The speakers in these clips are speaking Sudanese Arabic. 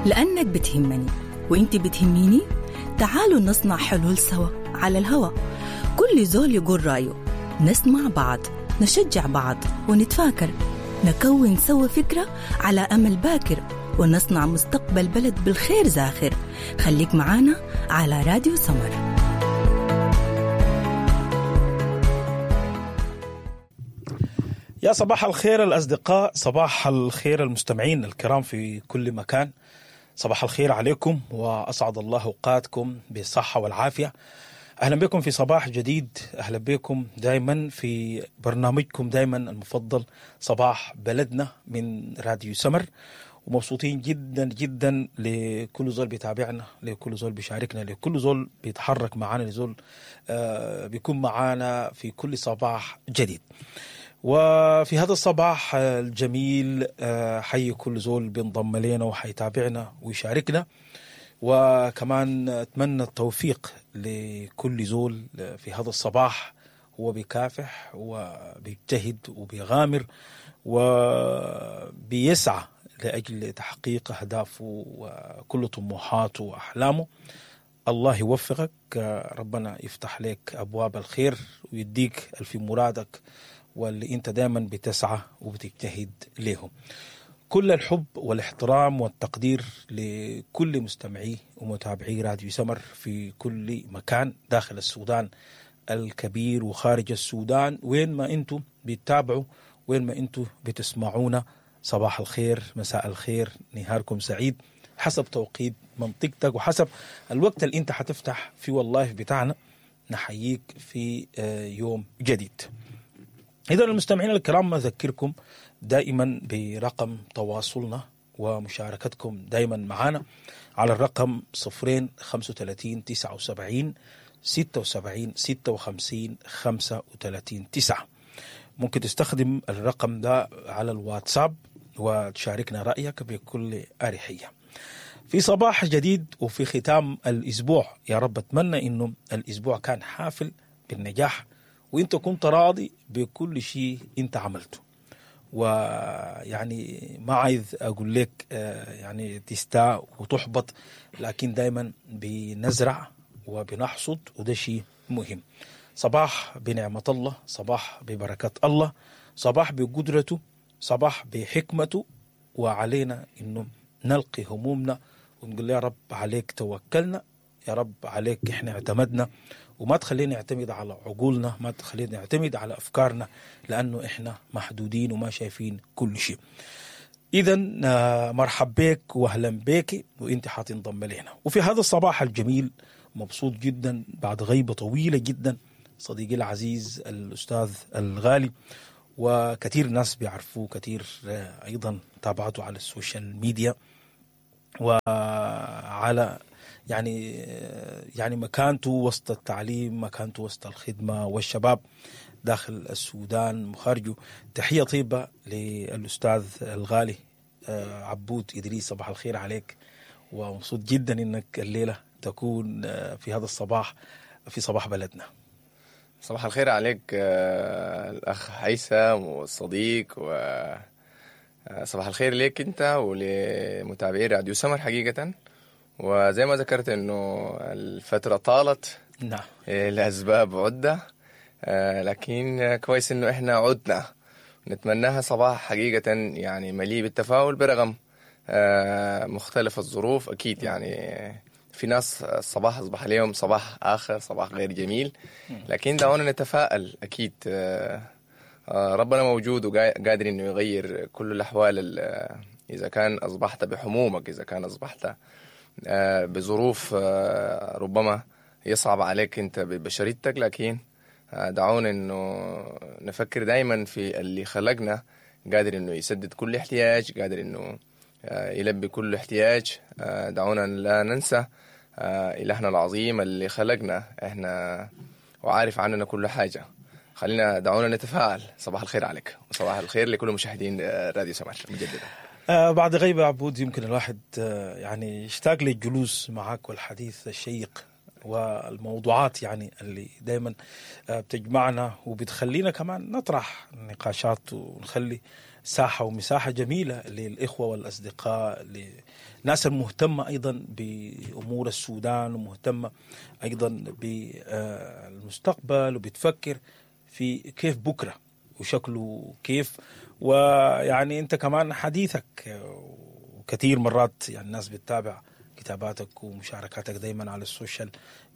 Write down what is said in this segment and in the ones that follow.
لأنك بتهمني وإنت بتهميني. تعالوا نصنع حلول سوا على الهوا، كل زول يقول رأيه، نسمع بعض، نشجع بعض، ونتفاكر، نكون سوا فكرة على أمل باكر، ونصنع مستقبل بلد بالخير زاخر. خليك معانا على راديو سمر. يا صباح الخير الأصدقاء، صباح الخير المستمعين الكرام في كل مكان. صباح الخير عليكم وأسعد الله أوقاتكم بالصحة والعافية. أهلا بكم في صباح جديد، أهلا بكم دايما في برنامجكم دايما المفضل صباح بلدنا من راديو سمر. ومبسوطين جدا جدا لكل زول بيتابعنا، لكل زول بيشاركنا، لكل زول بيتحرك معانا، لزول بيكون معانا في كل صباح جديد. وفي هذا الصباح الجميل حي كل زول بينضم لنا وحيتابعنا ويشاركنا، وكمان أتمنى التوفيق لكل زول في هذا الصباح هو بيكافح وبيجتهد وبيغامر وبيسعى لأجل تحقيق أهدافه وكل طموحاته وأحلامه. الله يوفقك، ربنا يفتح لك أبواب الخير ويديك الفي مرادك واللي انت دائما بتسعى وبتجتهد ليهم. كل الحب والاحترام والتقدير لكل مستمعي ومتابعي راديو سمر في كل مكان داخل السودان الكبير وخارج السودان، وين ما انتم بتتابعوا، وين ما انتم بتسمعونا. صباح الخير، مساء الخير، نهاركم سعيد حسب توقيت منطقتك وحسب الوقت اللي انت حتفتح فيه ال live بتاعنا. نحييك في يوم جديد. إذا المستمعين الكرام، أذكركم دائما برقم تواصلنا ومشاركتكم دائما معنا على الرقم 0 35 79 76 56 35 9. ممكن تستخدم الرقم ده على الواتساب وتشاركنا رأيك بكل أريحية. في صباح جديد وفي ختام الأسبوع، يا رب أتمنى إنه الأسبوع كان حافل بالنجاح وانت كنت راضي بكل شيء انت عملته. ويعني ما عايز اقول لك يعني تستاء وتحبط، لكن دايما بنزرع وبنحصد، وده شيء مهم. صباح بنعمة الله، صباح ببركة الله، صباح بقدرته، صباح بحكمته، وعلينا انه نلقي همومنا ونقول يا رب عليك توكلنا، يا رب عليك احنا اعتمدنا، وما تخلينا نعتمد على عقولنا، ما تخلينا نعتمد على أفكارنا، لأنه إحنا محدودين وما شايفين كل شيء. إذا مرحب بك وأهلا بك وإنت حتنضم لنا. وفي هذا الصباح الجميل مبسوط جدا بعد غيبة طويلة جدا، صديقي العزيز الأستاذ الغالي، وكثير ناس بيعرفوه، كثير أيضا تابعته على ال social media وعلى يعني مكانته وسط التعليم، مكانته وسط الخدمة والشباب داخل السودان وخارجه. تحية طيبة للأستاذ الغالي عبود إدريس، صباح الخير عليك، ومبسوط جدا إنك الليلة تكون في هذا الصباح في صباح بلدنا. صباح الخير عليك الأخ هيثم والصديق، و صباح الخير ليك أنت ولمتابعي راديو سمر حقيقة. وزي ما ذكرت انه الفترة طالت، نعم، لأسباب عدة، لكن كويس انه احنا عدنا. نتمناها صباح حقيقة يعني مليء بالتفاؤل برغم مختلف الظروف. اكيد يعني في ناس الصباح اصبح عليهم صباح اخر، صباح غير جميل، لكن دعونا نتفائل. اكيد ربنا موجود وقادر انه يغير كل الاحوال. اذا كان اصبحت بحمومك، اذا كان اصبحت بظروف ربما يصعب عليك انت ببشريتك، لكن دعونا انه نفكر دايما في اللي خلقنا، قادر انه يسدد كل احتياج، قادر انه يلبي كل احتياج. دعونا لا ننسى إلهنا العظيم اللي خلقنا احنا وعارف عننا كل حاجة. خلينا دعونا نتفاعل. صباح الخير عليك وصباح الخير لكل مشاهدين راديو سمر مجددا. بعد غيبة عبود، يمكن الواحد يعني يشتاق للجلوس معك والحديث الشيق والموضوعات يعني اللي دايما بتجمعنا وبتخلينا كمان نطرح نقاشات ونخلي ساحة ومساحة جميلة للإخوة والأصدقاء، للناس المهتمة أيضا بأمور السودان ومهتمة أيضا بالمستقبل وبتفكر في كيف بكرة وشكله كيف. ويعني أنت كمان حديثك وكثير مرات يعني الناس بتتابع كتاباتك ومشاركاتك دايما على ال social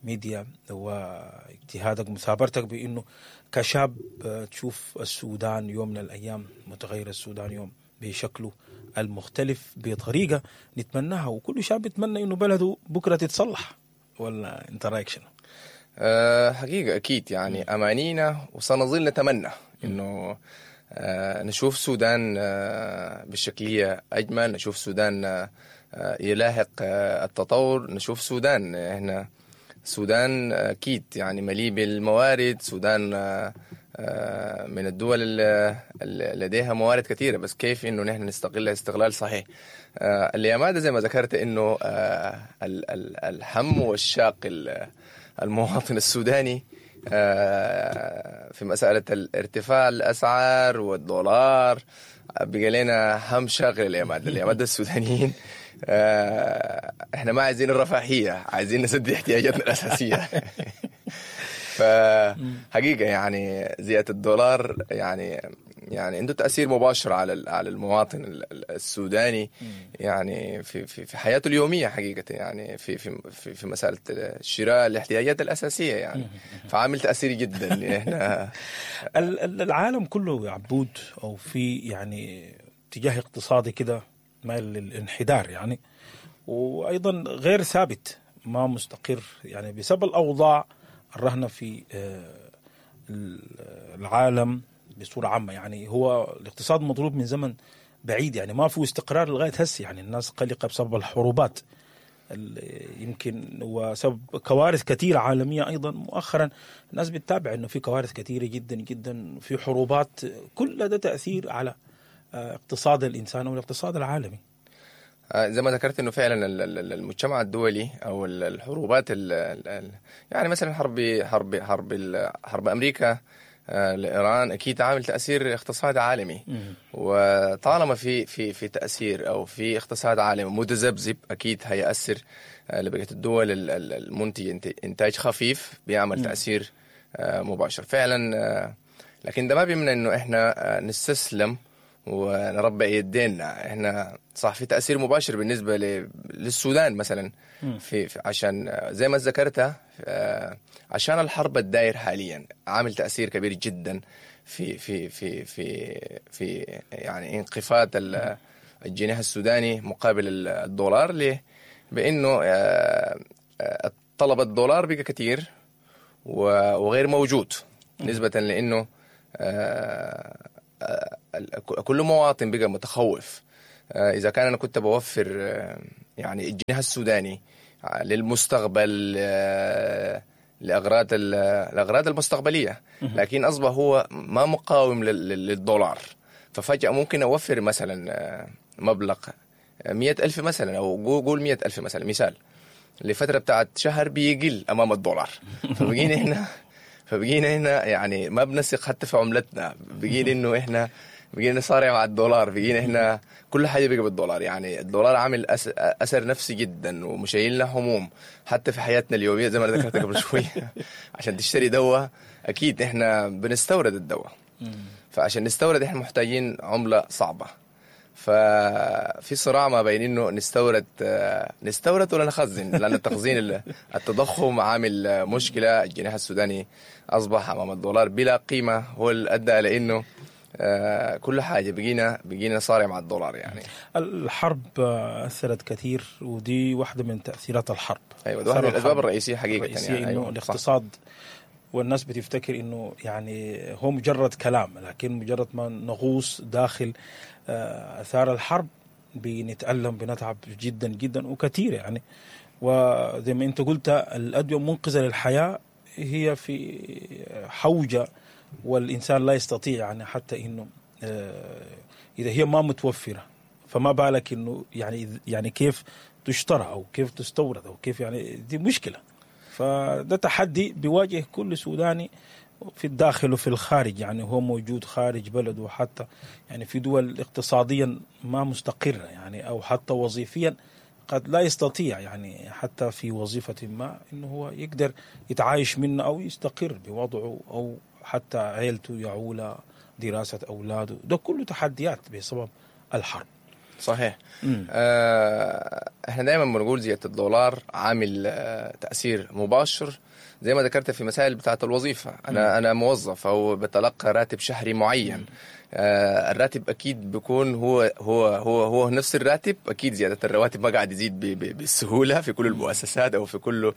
media واجتهادك ومثابرتك بانه كشاب تشوف السودان يوم من الايام متغير، السودان يوم بشكله المختلف بطريقة نتمناها، وكل شاب يتمنى انه بلده بكره تتصلح. ولا انت رايك شنو؟ حقيقة اكيد يعني امانينا وسنظل نتمنى انه نشوف سودان بالشكليه اجمل، نشوف سودان يلاحق التطور، نشوف سودان، احنا سودان اكيد يعني مليء بالموارد، سودان من الدول اللي لديها موارد كثيرة، بس كيف انه نحن نستغلها استغلال صحيح. اليامات زي ما ذكرت انه الهم والشاق المواطن السوداني في مسألة الارتفاع الأسعار والدولار بقى لنا هم شاغل اليامات. اليامات السودانيين احنا ما عايزين الرفاهية، عايزين نسد احتياجاتنا الأساسية. فحقيقة يعني زيادة الدولار يعني عنده تأثير مباشر على المواطن السوداني يعني في في في حياته اليومية حقيقة، يعني في في في, في مسألة شراء الاحتياجات الأساسية يعني، فعامل تأثير جدا. احنا العالم كله يا عبود او في يعني اتجاه اقتصادي كده مايل للانحدار يعني، وايضا غير ثابت، ما مستقر يعني بسبب الاوضاع الرهنة في العالم بصورة عامة. يعني هو الاقتصاد مضروب من زمن بعيد، يعني ما في استقرار لغاية هسه، يعني الناس قلقة بسبب الحروبات يمكن وسبب كوارث كثيرة عالمية أيضا. مؤخرا الناس بتتابع أنه في كوارث كثيرة جدا جدا، في حروبات، كل ده تأثير على اقتصاد الإنسان والاقتصاد العالمي. زي ما ذكرت انه فعلا المجتمع الدولي او الحروبات يعني مثلا حرب حرب حرب حرب امريكا لايران اكيد عامل تاثير اقتصادي عالمي، وطالما في في في تاثير او في اقتصاد عالمي متذبذب اكيد هياثر لبقية الدول المنتجة انتاج خفيف بيعمل تاثير مباشر فعلا. لكن ده ما بيمنع انه احنا نستسلم ونربع يدينا. احنا صح في تاثير مباشر بالنسبة للسودان مثلا في عشان زي ما ذكرتها عشان الحرب الداير حاليا عامل تاثير كبير جدا في في في في في يعني انخفاض الجنيه السوداني مقابل الدولار. ليه؟ بانه طلب الدولار بقى كثير وغير موجود، نسبه لانه كل مواطن بقى متخوف. إذا كان أنا كنت بوفر يعني الجنيه السوداني للمستقبل لأغراض المستقبلية، لكن أصبح هو ما مقاوم للدولار، ففجأة ممكن أوفر مثلا مبلغ 100,000 مثلا، أو قول 100,000 مثلا مثال، لفترة بتاعت شهر بيقل أمام الدولار. فبقينا هنا يعني ما بنثق حتى في عملتنا، بقينا انه احنا بقينا نصارع مع الدولار، بقينا احنا كل حاجة بقى بالدولار. يعني الدولار عامل اثر نفسي جدا ومشايلنا هموم حتى في حياتنا اليومية زي ما انا ذكرت قبل شوية. عشان تشتري دواء اكيد احنا بنستورد الدواء، فعشان نستورد احنا محتاجين عمله صعبة. ففي صراع ما بين انه نستورد ولا نخزن، لان التخزين التضخم عامل مشكلة. الجنيه السوداني اصبح امام الدولار بلا قيمة، هو اللي ادى لانه كل حاجة بقينا صارع مع الدولار. يعني الحرب اثرت كثير، ودي واحدة من تاثيرات الحرب. ايوه، ده واحدة من الاسباب الرئيسية حقيقة، يعني انه الاقتصاد، والناس بتفتكر انه يعني هو مجرد كلام، لكن مجرد ما نغوص داخل اثار الحرب بنتألم، بنتعب جدا جدا وكثير يعني. وزي ما انت قلت الادوية منقذه للحياة هي في حوجه، والانسان لا يستطيع يعني حتى انه اذا هي ما متوفرة فما بالك انه يعني كيف تشترى او كيف تستورد او كيف، يعني دي مشكلة. فده تحدي بيواجه كل سوداني في الداخل وفي الخارج، يعني هو موجود خارج بلده، حتى يعني في دول اقتصاديا ما مستقرة يعني، أو حتى وظيفيا قد لا يستطيع يعني حتى في وظيفة ما إنه هو يقدر يتعايش منه أو يستقر بوضعه أو حتى عيلته يعولها، دراسة أولاده، ده كله تحديات بسبب الحرب. صحيح. احنا دايما بنقول زيادة الدولار عامل تأثير مباشر زي ما ذكرت في مسائل بتاعة الوظيفة. أنا موظف أو بتلقى راتب شهري معين. الراتب أكيد بيكون هو هو هو هو نفس الراتب. أكيد زيادة الرواتب ما قاعد يزيد بالسهولة في كل المؤسسات أو في كل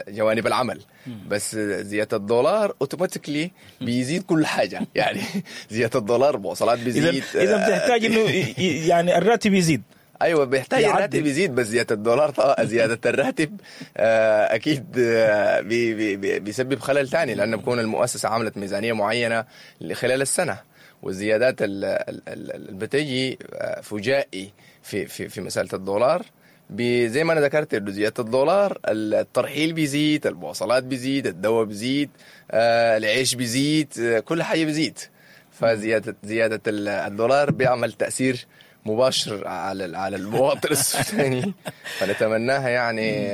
جوانب العمل، بس زيادة الدولار automatically بيزيد كل حاجة. يعني زيادة الدولار مواصلات بيزيد. إذا بتحتاج إنه يعني الراتب يزيد. ايوه بيحتاج الراتب يزيد، بس زيادة الدولار زيادة الراتب اكيد بي بي بيسبب خلل ثاني، لانه بكون المؤسسة عملت ميزانية معينة خلال السنة، والزيادات اللي بتجي فجائي في في في مسالة الدولار، زي ما انا ذكرت انه زيادة الدولار الترحيل بيزيد، المواصلات بيزيد، الدواء بيزيد، العيش بيزيد، كل حاجة بيزيد. فزيادة الدولار بيعمل تاثير مباشر على المواطن السوداني. فنتمناها يعني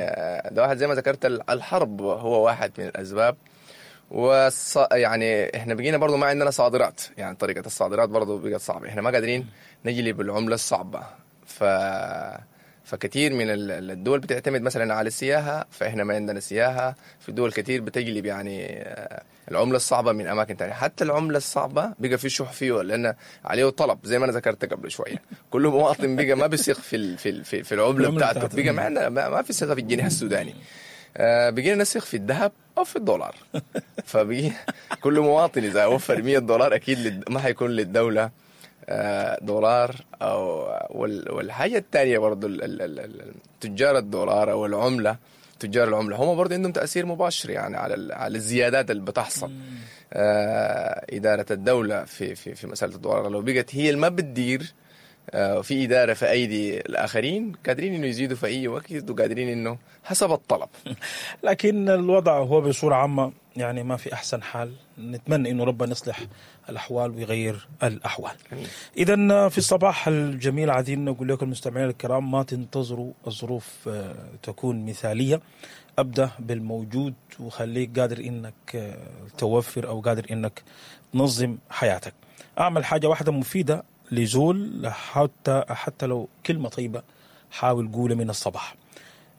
ده واحد زي ما ذكرت الحرب هو واحد من الاسباب. يعني احنا بقينا برضو ما عندنا صادرات، يعني طريقة الصادرات برضو بقت صعبة، احنا ما قادرين نجلب العملة الصعبة. فكثير من الدول بتعتمد مثلا على السياحة، فإحنا ما عندنا سياحة. في دول كثير بتجلب يعني العملة الصعبة من أماكن تانية. حتى العملة الصعبة بقى في شح فيه، لأن عليه طلب زي ما أنا ذكرت قبل شوية. كل مواطن بقى ما بيثق في في في, في العملة بتاعته، بقى ما عندنا ما في ثقة في الجنيه السوداني. بقينا نثق في الذهب أو في الدولار. فبقي كل مواطن إذا وفر $100 أكيد ما حيكون للدولة دولار. أو والحاجة الثانية برضو تجار الدولار أو العملة، تجار العملة هم برضو عندهم تأثير مباشر يعني على الزيادات اللي بتحصل. إدارة الدولة في في في مسألة الدولار لو بقت هي اللي ما بتدير، في إدارة في أيدي الآخرين، قادرين إنه يزيدوا في أي وقت، وقادرين إنه حسب الطلب. لكن الوضع هو بصورة عامة يعني ما في أحسن حال. نتمنى إنه ربنا يصلح الأحوال ويغير الأحوال. إذن في الصباح الجميل عايزين نقول لكم المستمعين الكرام، ما تنتظروا الظروف تكون مثالية، أبدأ بالموجود وخليك قادر إنك توفر أو قادر إنك تنظم حياتك. أعمل حاجة واحدة مفيدة لزول، حتى لو كلمة طيبة حاول قولها من الصباح.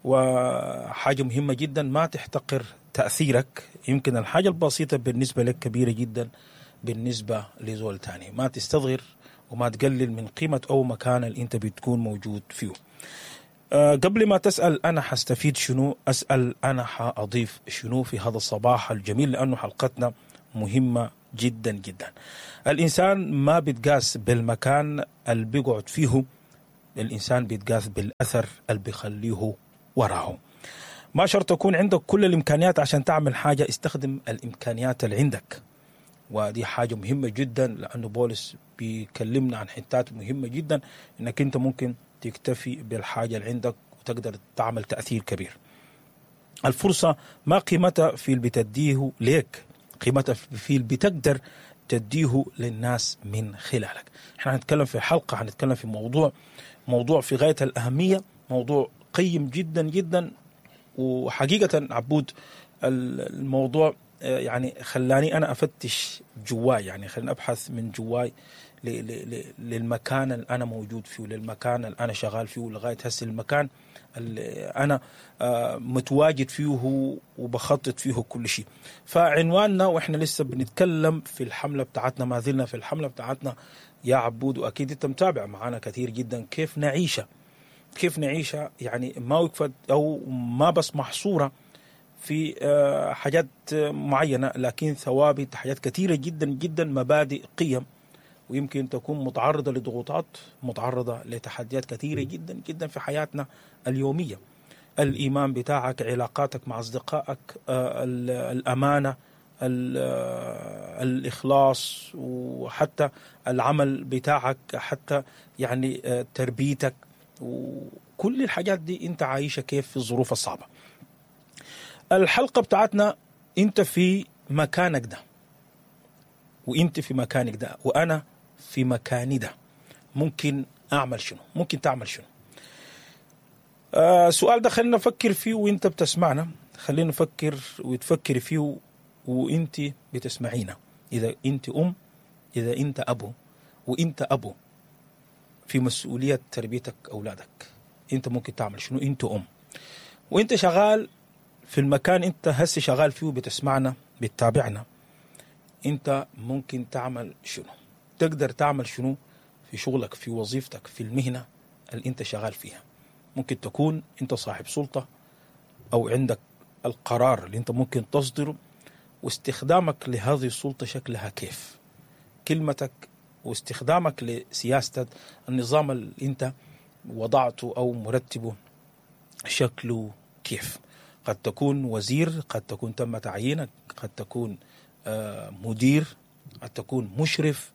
وحاجة مهمة جدا، ما تحتقر تأثيرك. يمكن الحاجة البسيطة بالنسبة لك كبيرة جدا بالنسبة لزول تاني. ما تستصغر وما تقلل من قيمة أو مكان اللي أنت بتكون موجود فيه. قبل ما تسأل أنا حستفيد شنو، أسأل أنا حأضيف شنو في هذا الصباح الجميل، لأنه حلقتنا مهمة جدا جدا. الإنسان ما بيتقاس بالمكان اللي بيقعد فيه، الإنسان بيتقاس بالأثر اللي بيخليه وراه. ما شرط تكون عندك كل الإمكانيات عشان تعمل حاجة، استخدم الإمكانيات اللي عندك. ودي حاجة مهمة جدا، لأنه بولس بيكلمنا عن حتات مهمة جدا، إنك أنت ممكن تكتفي بالحاجة اللي عندك وتقدر تعمل تأثير كبير. الفرصة ما قيمتها في اللي بتديه ليك، قيمتها في اللي بتقدر تديه للناس من خلالك. احنا هنتكلم في حلقة، هنتكلم في موضوع في غاية الأهمية، موضوع قيم جدا جدا. وحقيقة عبود الموضوع يعني خلاني أنا أفتش جواي، يعني خلاني أبحث من جواي للمكان اللي أنا موجود فيه، للمكان اللي أنا شغال فيه لغاية هسه، المكان اللي أنا متواجد فيه وبخطط فيه كل شيء. فعنواننا وإحنا لسه بنتكلم في الحملة بتاعتنا، ما زلنا في الحملة بتاعتنا يا عبود، وأكيد أنت متابع معنا كثير جدا، كيف نعيشها، كيف نعيشها، يعني ما وقفت أو ما بس محصورة في حاجات معينة، لكن ثوابت، حاجات كثيرة جدا جدا، مبادئ، قيم، ويمكن تكون متعرضة لضغوطات، متعرضة لتحديات كثيرة جدا جدا في حياتنا اليومية. الإيمان بتاعك، علاقاتك مع أصدقائك، الأمانة، الإخلاص، وحتى العمل بتاعك، حتى يعني تربيتك، وكل الحاجات دي انت عايشة كيف في الظروف الصعبة. الحلقة بتاعتنا انت في مكانك ده، وانت في مكانك ده، وانا في مكاني ده، ممكن اعمل شنو؟ ممكن تعمل شنو؟ السؤال ده خلينا نفكر فيه وانت بتسمعنا، خلينا نفكر وتفكر فيه وانت بتسمعينا. اذا انت ام، اذا انت ابو، وانت ابو في مسؤولية تربيتك اولادك، انت ممكن تعمل شنو؟ انت ام وانت شغال في المكان انت هسه شغال فيه بتسمعنا بتتابعنا، انت ممكن تعمل شنو؟ تقدر تعمل شنو في شغلك، في وظيفتك، في المهنة اللي انت شغال فيها؟ ممكن تكون انت صاحب سلطة او عندك القرار اللي انت ممكن تصدره، واستخدامك لهذه السلطة شكلها كيف؟ كلمتك واستخدامك لسياسة النظام اللي انت وضعته او مرتبه شكله كيف؟ قد تكون وزير، قد تكون تم تعيينك، قد تكون مدير، قد تكون مشرف،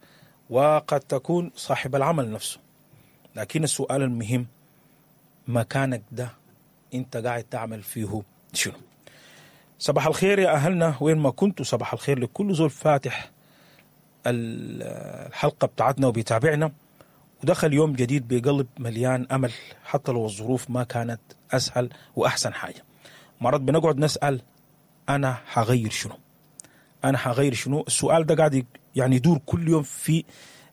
وقد تكون صاحب العمل نفسه. لكن السؤال المهم، مكانك ده انت قاعد تعمل فيه شنو؟ صباح الخير يا أهلنا وين ما كنتوا، صباح الخير لكل زول فاتح الحلقة بتاعتنا وبيتابعنا ودخل يوم جديد بقلب مليان أمل، حتى لو الظروف ما كانت أسهل وأحسن حاجة. مرات بنقعد نسأل أنا حغير شنو؟ أنا حغير شنو؟ السؤال ده قاعد يعني يدور كل يوم في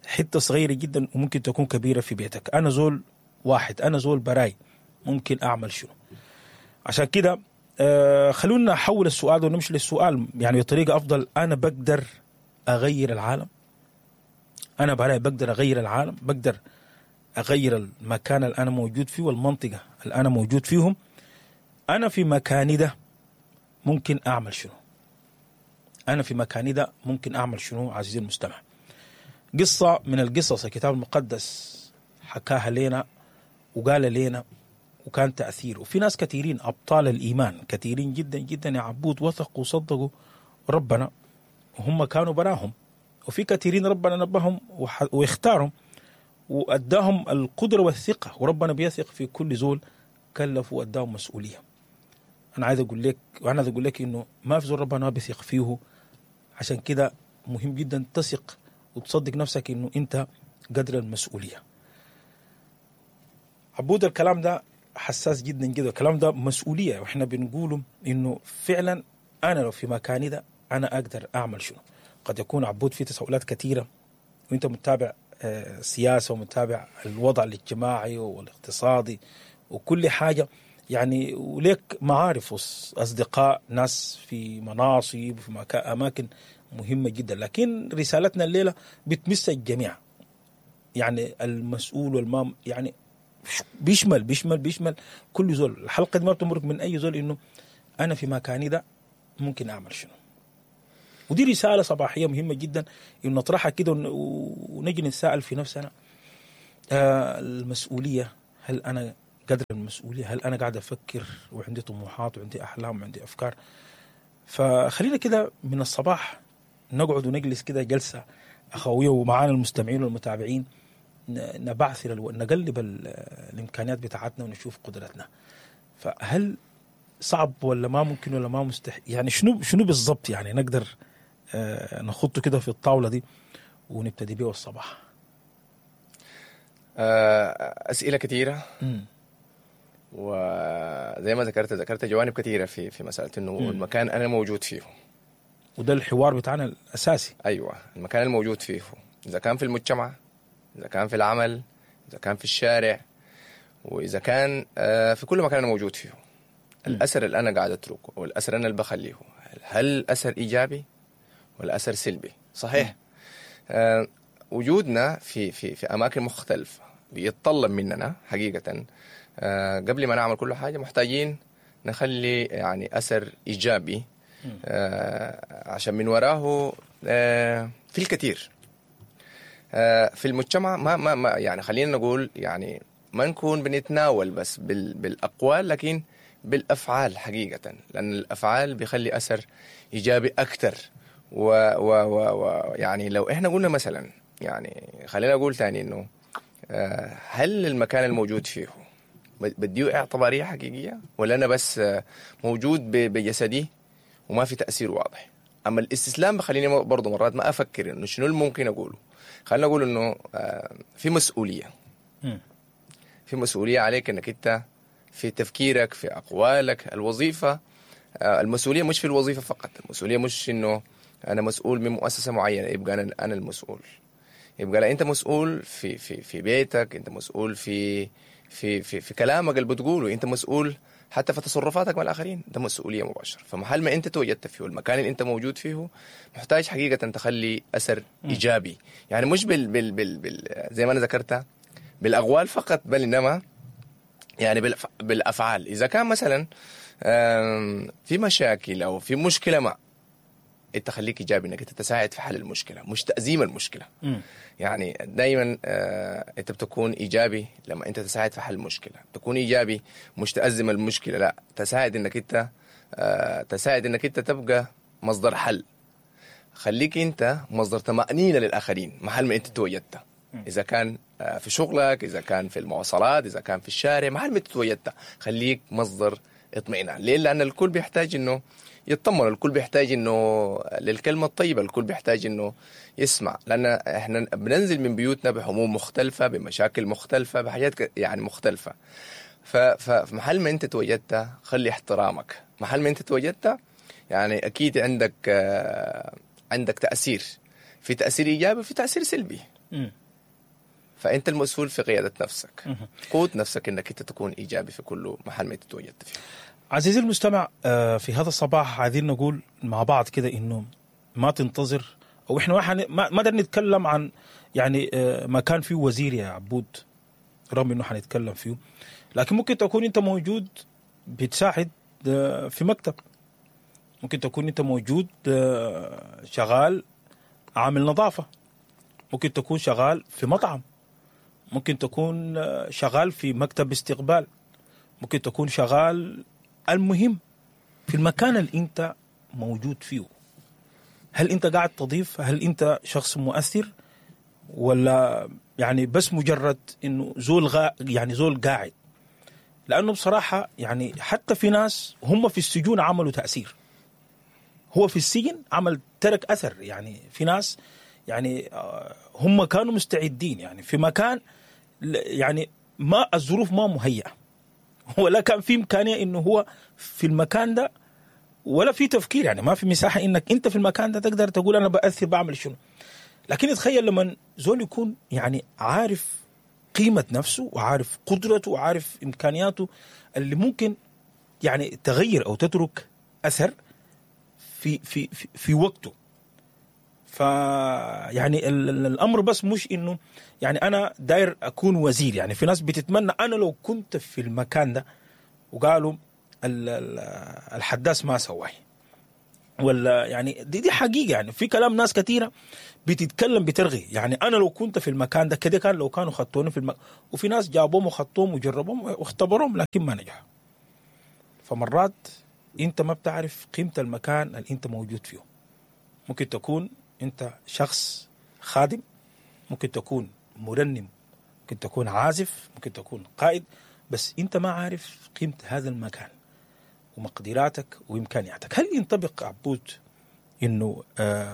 حتة صغيرة جدا وممكن تكون كبيرة في بيتك. أنا زول واحد، أنا زول براي، ممكن أعمل شنو؟ عشان كده خلونا نحول السؤال ونمشي للسؤال يعني بطريقة أفضل. أنا بقدر أغير العالم؟ أنا براي بقدر أغير العالم؟ بقدر أغير المكان اللي أنا موجود فيه والمنطقة اللي أنا موجود فيهم؟ أنا في مكاني ده ممكن أعمل شنو؟ أنا في مكاني ده ممكن أعمل شنو؟ عزيزي المستمع، قصة من القصص الكتاب المقدس حكاها لنا وقال لنا وكان تأثير، وفي ناس كثيرين أبطال الإيمان كثيرين جدا جدا يا عبود وثقوا وصدقوا ربنا وهم كانوا براهم، وفي كثيرين ربنا نبههم واختارهم وأداهم القدرة والثقة، وربنا بيثق في كل زول كلفه وأداهم مسؤولية. أنا عايز أقول لك وأنا عايز أقول لك إنه ما في زول ربنا ما بيثق فيه، عشان كده مهم جدا تثق وتصدق نفسك إنه أنت قدر المسؤولية. عبود الكلام ده حساس جدا جدا، الكلام ده مسؤولية، وإحنا بنقوله إنه فعلا أنا لو في مكاني ده أنا أقدر أعمل شنو. قد يكون عبود في تساؤلات كثيرة وأنت متابع سياسة ومتابع الوضع الاجتماعي والاقتصادي وكل حاجة يعني، وليك معارف وأصدقاء ناس في مناصب وفي أماكن مهمة جدا، لكن رسالتنا الليلة بتمس الجميع، يعني المسؤول والمام، يعني بيشمل بيشمل بيشمل كل زول. الحلقة دي ما بتمرق من أي زول إنه أنا في مكاني ده ممكن أعمل شنو. ودي رسالة صباحية مهمة جدا إنه نطرحها كده ونجي نتساءل في نفسنا، المسؤولية، هل أنا قدر المسؤولية؟ هل أنا قاعد أفكر وعندي طموحات وعندي أحلام وعندي أفكار؟ فخلينا كده من الصباح نقعد ونجلس كده جلسة أخوية ومعانا المستمعين والمتابعين، نبعثر نقلب الإمكانيات بتاعتنا ونشوف قدرتنا. فهل صعب ولا ما ممكن ولا ما مستحيل؟ يعني شنو بالضبط يعني نقدر نخطه كده في الطاولة دي ونبتدي بيه الصباح؟ أسئلة كثيرة، وزي ما ذكرت جوانب كثيرة في مسألة إنه المكان أنا موجود فيه، وده الحوار بتاعنا الأساسي. أيوة، المكان الموجود فيه، إذا كان في المجتمع، إذا كان في العمل، إذا كان في الشارع، وإذا كان في كل مكان أنا موجود فيه، الأثر اللي أنا قاعد أتركه والأثر أنا اللي بخليه، هل أثر إيجابي ولا أثر سلبي؟ صحيح. وجودنا في في في أماكن مختلفة بيتطلب مننا حقيقة قبل ما نعمل كل حاجة محتاجين نخلي يعني أثر إيجابي، عشان من وراه في الكثير في المجتمع. ما ما ما يعني خلينا نقول يعني ما نكون بنتناول بس بالأقوال، لكن بالأفعال حقيقة، لأن الأفعال بيخلي أثر إيجابي أكثر. و و و يعني لو إحنا قلنا مثلا، يعني خلينا أقول تاني إنه هل المكان الموجود فيه بديه اعتبارية حقيقية، ولا أنا بس موجود بجسدي وما في تاثير واضح. اما الاستسلام بخليني برضه مرات ما افكر انه شنو الممكن اقوله. خلينا نقول انه في مسؤولية، في مسؤولية عليك انك انت في تفكيرك، في اقوالك. الوظيفة، المسؤولية مش في الوظيفة فقط، المسؤولية مش انه انا مسؤول من مؤسسة معينة يبقى انا المسؤول. يبقى لا، انت مسؤول في في في بيتك، انت مسؤول في في في, في كلامك اللي بتقوله، انت مسؤول حتى في تصرفاتك مع الاخرين. ده مسؤولية مباشرة. فمحل ما انت توجدت فيه، المكان اللي انت موجود فيه، محتاج حقيقة تخلي اثر ايجابي. يعني مش بال بال بال, بال زي ما انا ذكرتها بالاقوال فقط، بل انما يعني بالافعال. اذا كان مثلا في مشاكل او في مشكلة، ما انت خليك ايجابي انك انت تساعد في حل المشكلة، مش تازيم المشكلة. يعني دائما انت بتكون ايجابي لما انت تساعد في حل المشكلة، تكون ايجابي مش تازم المشكلة، لا تساعد انك انت تساعد انك انت تبقى مصدر حل. خليك انت مصدر طمانينة للاخرين محل ما انت توجدت، اذا كان في شغلك، اذا كان في المواصلات، اذا كان في الشارع، محل ما انت توجدت خليك مصدر اطمئنان. ليه؟ لان الكل بيحتاج انه يطمن، الكل بيحتاج انه للكلمة الطيبة، الكل بيحتاج انه يسمع، لان احنا بننزل من بيوتنا بهموم مختلفة، بمشاكل مختلفة، بحاجات يعني مختلفة. فمحل ما انت توجدت خلي احترامك، محل ما انت توجدت يعني اكيد عندك تاثير، في تاثير ايجابي وفي تاثير سلبي. فانت المسؤول في قيادة نفسك، قود نفسك انك انت تكون ايجابي في كل محل ما انت توجدت فيه. عزيزي المستمع، في هذا الصباح عايزين نقول مع بعض كده انه ما تنتظر، او احنا ما قدرنا نتكلم عن يعني ما كان فيه وزير يا عبود، رغم انه حنتكلم فيه، لكن ممكن تكون انت موجود بتساعد في مكتب، ممكن تكون انت موجود شغال عامل نظافة، ممكن تكون شغال في مطعم، ممكن تكون شغال في مكتب استقبال، ممكن تكون شغال، المهم في المكان اللي انت موجود فيه، هل انت قاعد تضيف؟ هل انت شخص مؤثر؟ ولا يعني بس مجرد انه زول يعني زول قاعد؟ لانه بصراحة يعني حتى في ناس هم في السجون عملوا تأثير، هو في السجن عمل ترك أثر. يعني في ناس يعني هم كانوا مستعدين يعني في مكان يعني ما الظروف ما مهيئة، ولا كان في إمكانية إنه هو في المكان ده، ولا في تفكير، يعني ما في مساحة إنك أنت في المكان ده تقدر تقول أنا بأثر بعمل شنو. لكن تخيل لما زول يكون يعني عارف قيمة نفسه وعارف قدرته وعارف إمكانياته اللي ممكن يعني تغير أو تترك أثر في في في, في وقته. فيعني الأمر بس مش إنه يعني أنا داير أكون وزير، يعني في ناس بتتمنى أنا لو كنت في المكان ده، وقالوا الحداث ما سواه، ولا يعني دي حقيقة. يعني في كلام ناس كثيرة بتتكلم بترغي، يعني أنا لو كنت في المكان ده كده كان لو كانوا خطوني في المكان، وفي ناس جابوهم وخطوهم وجربوهم واختبروهم لكن ما نجحوا. فمرات أنت ما بتعرف قيمة المكان اللي أنت موجود فيه. ممكن تكون أنت شخص خادم، ممكن تكون مرنم، ممكن تكون عازف، ممكن تكون قائد، بس أنت ما عارف قيمة هذا المكان ومقدراتك وإمكانياتك. هل ينطبق عبود إنه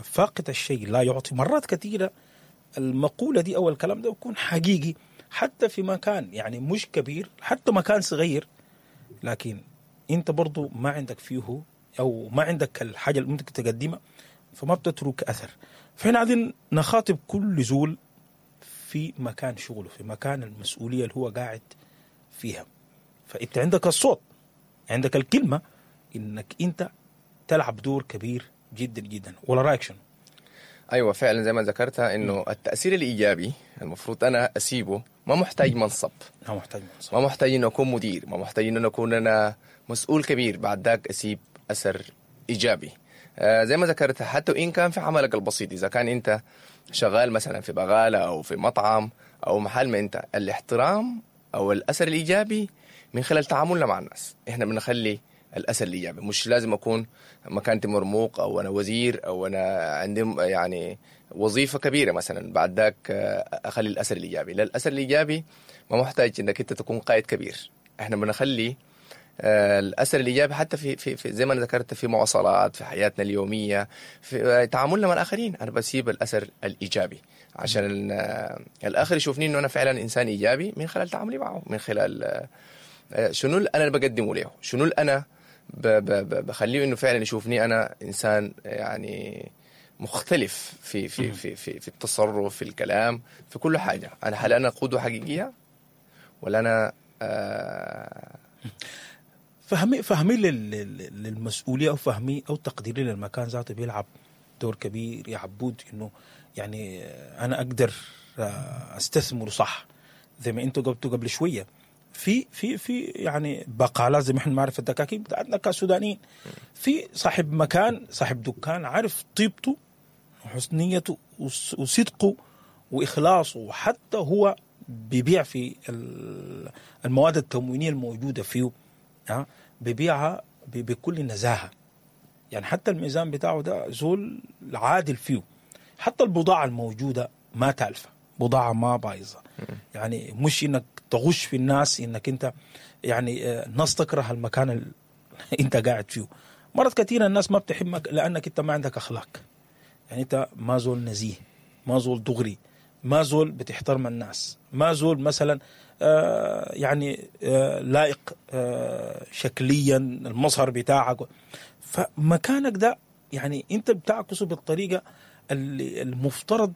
فاقد الشيء لا يعطي؟ مرات كثيرة المقولة دي أو الكلام ده يكون حقيقي حتى في مكان يعني مش كبير، حتى مكان صغير، لكن أنت برضو ما عندك فيه أو ما عندك الحاجة اللي ممكن تقدمها، فما بتترك أثر. فإحنا عايزين نخاطب كل زول في مكان شغله، في مكان المسؤولية اللي هو قاعد فيها. فأنت عندك الصوت، عندك الكلمة، إنك أنت تلعب دور كبير جدا جدا. ولا رأيك شنو؟ أيوة فعلا زي ما ذكرتها إنه التأثير الإيجابي المفروض أنا أسيبه، ما محتاج منصب، ما محتاج منصب، ما محتاج إنه أكون مدير، ما محتاج إنه أكون أنا مسؤول كبير بعد ذاك أسيب أثر إيجابي. زي ما ذكرت حتى وإن كان في عملك البسيط، إذا كان أنت شغال مثلا في بغالة أو في مطعم أو محل ما أنت، الاحترام أو الأثر الإيجابي من خلال تعاملنا مع الناس إحنا بنخلي الأثر الإيجابي. مش لازم أكون مكانتي مرموق أو أنا وزير أو أنا عندي يعني وظيفة كبيرة مثلا بعد ذاك أخلي الأثر الإيجابي. لا، الأثر الإيجابي ما محتاج إنك أنت تكون قائد كبير. إحنا بنخلي الاثر الايجابي حتى في زي ما انا ذكرت، في مواصلات، في حياتنا اليوميه، في تعاملنا مع الاخرين. انا بسيب الاثر الايجابي عشان الاخر يشوفني انه انا فعلا انسان ايجابي من خلال تعاملي معه، من خلال شنو اللي انا بقدمه له، شنو اللي انا بخليه انه فعلا يشوفني انا انسان يعني مختلف في التصرف، في الكلام، في كل حاجه. انا هل انا قدوة حقيقية ولا انا فهمي للمسؤولية او فهمي او تقديري للمكان ذاته بيلعب دور كبير يا عبود، انه يعني انا اقدر استثمره صح. زي ما انتوا قلتوا قبل شويه، في يعني بقالات، زي ما احنا بنعرف الدكاكين بتاعتنا كسودانيين، في صاحب مكان، صاحب دكان، عارف طيبته وحسن نيته وصدقه واخلاصه، وحتى هو بيبيع في المواد التموينيه الموجودة فيه، بيبيعها بكل نزاهه. يعني حتى الميزان بتاعه ده زول عادل فيه، حتى البضاعة الموجودة ما تالفه، بضاعة ما بايظه. يعني مش انك تغش في الناس، انك انت يعني الناس تكره المكان اللي انت قاعد فيه. مرات كثيرة الناس ما بتحبك لانك انت ما عندك اخلاق، يعني انت ما زول نزيه، ما زول دغري، ما زول بتحترم الناس، ما زول مثلا يعني لائق شكليا، المظهر بتاعك. فمكانك ده يعني انت بتعكسه بالطريقة اللي المفترض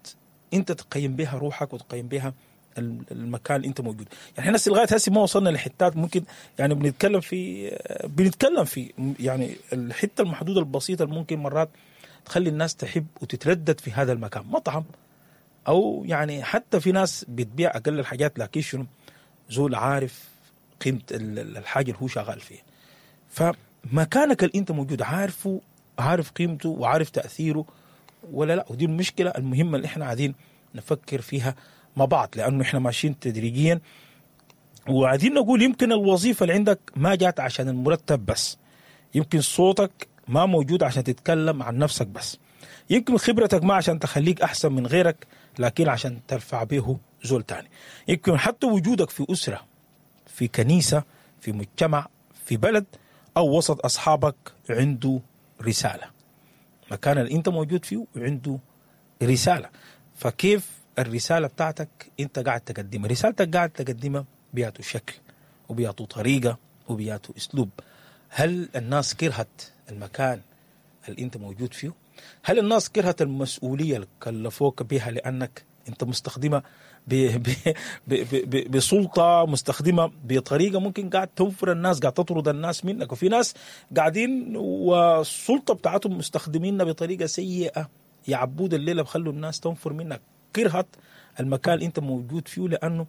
انت تقيم بها روحك وتقيم بها المكان اللي انت موجود. يعني احنا لغاية هسه ما وصلنا لحتات ممكن يعني بنتكلم في يعني الحتة المحدودة البسيطة اللي ممكن مرات تخلي الناس تحب وتتردد في هذا المكان، مطعم او يعني حتى في ناس بتبيع اقل الحاجات، لكن شنو؟ زول عارف قيمة الحاجة اللي هو شغال فيها. فمكانك اللي انت موجود عارفه، عارف قيمته وعارف تاثيره ولا لا؟ ودي المشكلة المهمة اللي احنا قاعدين نفكر فيها مع بعض، لانه احنا ماشيين تدريجيا وعايزين نقول يمكن الوظيفة اللي عندك ما جات عشان المرتب بس، يمكن صوتك ما موجود عشان تتكلم عن نفسك بس، يمكن خبرتك ما عشان تخليك احسن من غيرك، لكن عشان ترفع به زول تاني. يمكن حتى وجودك في اسره، في كنيسه، في مجتمع، في بلد او وسط اصحابك عنده رساله. مكان اللي انت موجود فيه عنده رساله. فكيف الرسالة بتاعتك انت قاعد تقدمها؟ رسالتك قاعد تقدمها بياتو شكل وبياتو طريقه وبياتو اسلوب؟ هل الناس كرهت المكان اللي انت موجود فيه؟ هل الناس كرهت المسؤولية اللي كلفوك بها لانك انت مستخدمها ب ب ب ب بسلطه، مستخدمة بطريقة ممكن قاعد تنفر الناس، قاعد تطرد الناس منك؟ وفي ناس قاعدين والسلطة بتاعتهم مستخدمينها بطريقة سيئه يا عبود، الليلة بخلوا الناس تنفر منك، كرهت المكان اللي انت موجود فيه، لانه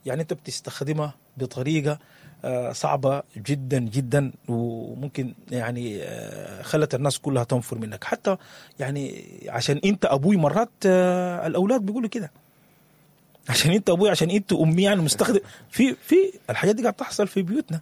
يعني انت بتستخدمها بطريقة صعبة جدا جدا، وممكن يعني خلت الناس كلها تنفر منك. حتى يعني عشان انت ابوي، مرات الاولاد بيقولوا كده، عشان انت ابوي، عشان انت امي، يعني مستخدم في الحاجات دي قاعد تحصل في بيوتنا.